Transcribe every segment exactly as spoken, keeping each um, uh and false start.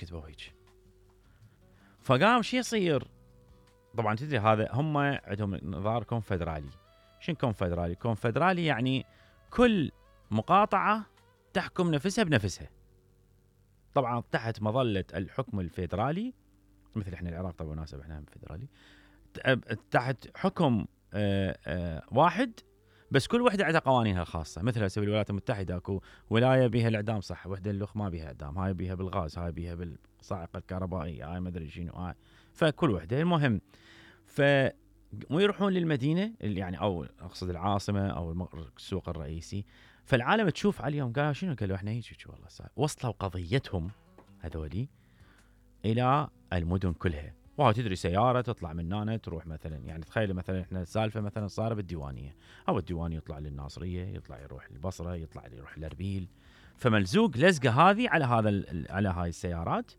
كتبوا هيك. فقام شي يصير؟ طبعا تدري هذا هم عندهم نظام كونفدرالي. شنو كونفدرالي؟ كونفدرالي يعني كل مقاطعة تحكم نفسها بنفسها، طبعا تحت مظلة الحكم الفيدرالي، مثل احنا العراق طبعا مناسب احنا فيدرالي، تحت حكم آآ آآ واحد، بس كل وحده عندها قوانينها الخاصه. مثل هسه بالولايات المتحده اكو ولايه بها الاعدام صح، وحده اللخ ما بها اعدام، هاي بها بالغاز، هاي بها بالصاعقه الكهربائيه، هاي ما ادري شنو، هاي فكل وحده. المهم ف مو يروحون للمدينه اللي يعني او اقصد العاصمه او السوق الرئيسي، فالعالم تشوف عليهم قالوا شنو؟ قالوا احنا هيك والله صار. وصلوا قضيتهم هذولي الى المدن كلها. وهاي تدري سياره تطلع من هنا تروح مثلا، يعني تخيل مثلا احنا السالفه مثلا صار بالديوانيه، او الديوانيه يطلع للناصريه، يطلع يروح للبصره، يطلع يروح لاربيل. فملزوق لزقه هذه على هذا على هاي السيارات،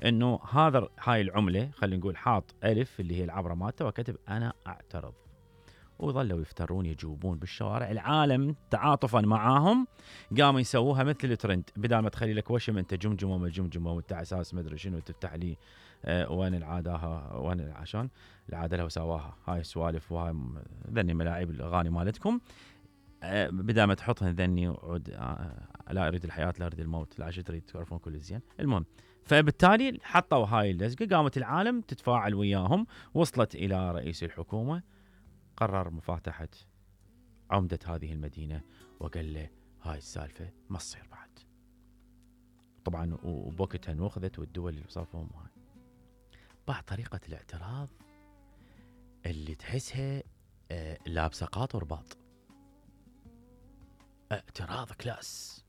انه هذا هاي العمله خلينا نقول حاط الف اللي هي العبره مالته وكتب انا اعترض. وظلوا يفترون يجوبون بالشوارع، العالم تعاطفا معاهم قاموا يسووها مثل الترند، بدل ما تخلي لك وشم انت جمجمه وما جمجمه وانت اساس ما ادري شنو تفتح لي آه وين العادها وين عشان العاده لو سواها هاي السوالف وهاي ذني ملاعب الاغاني مالتكم، آه بدل ما تحطها ذني وعود آه لا اريد الحياه لا اريد الموت، لا تريد تعرفون كل زين. المهم فبالتالي حطوا هاي اللزقه، قامت العالم تتفاعل وياهم، وصلت الى رئيس الحكومه، قرر مفاتحة عمدة هذه المدينة وقال له هاي السالفة ما تصير بعد. طبعا وبوقتها انوخذت والدول اللي وصفهم هاي. بعد طريقة الاعتراض اللي تحسها آه لابسة قاط ورباط، اعتراض كلاس.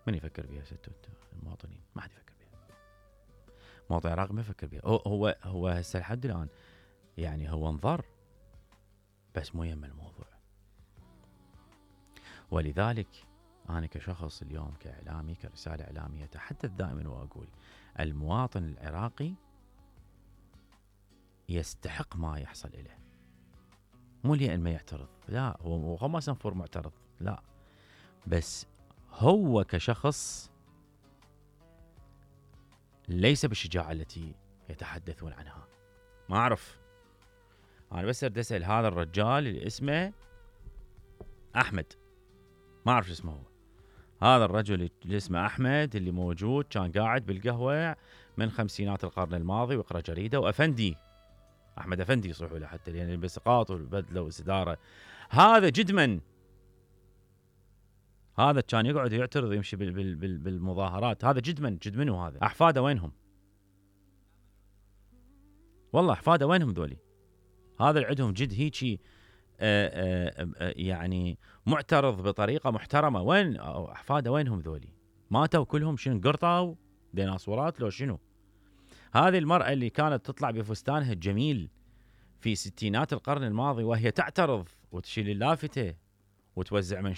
من يفكر بها ستو المواطنين؟ ما حد يفكر بها. مواطن العراق ما يفكر بها. هو هو هو هسه لحد الآن يعني هو انظر بس مو يم الموضوع. ولذلك أنا كشخص اليوم كإعلامي كرسالة إعلامية أتحدث دائما وأقول المواطن العراقي يستحق ما يحصل إليه، مو لأن ما يعترض، لا هو هو ما سنفور معترض، لا بس هو كشخص ليس بالشجاعة التي يتحدثون عنها. ما أعرف، أنا بس أريد أسأل هذا الرجال اللي اسمه أحمد، ما أعرف اسمه هو، هذا الرجل اللي اسمه أحمد اللي موجود كان قاعد بالقهوة من خمسينات القرن الماضي ويقرأ جريدة، وأفندي أحمد أفندي يصيحوا له حتى يعني بسقاط والبدلة والسدارة، هذا جدمن، هذا كان يقعد يعترض يمشي بال بال بال بالمظاهرات، هذا جدمن جدمنه، هذا أحفاده وينهم؟ والله أحفاده وينهم ذولي؟ هذا اللي عندهم جد هيجي آآ آآ يعني معترض بطريقة محترمة، وين أحفاده وينهم ذولي؟ ماتوا كلهم شنو قرطوا ديناصورات لو شنو؟ هذه المرأة اللي كانت تطلع بفستانها الجميل في ستينات القرن الماضي وهي تعترض وتشيل اللافتة وتوزع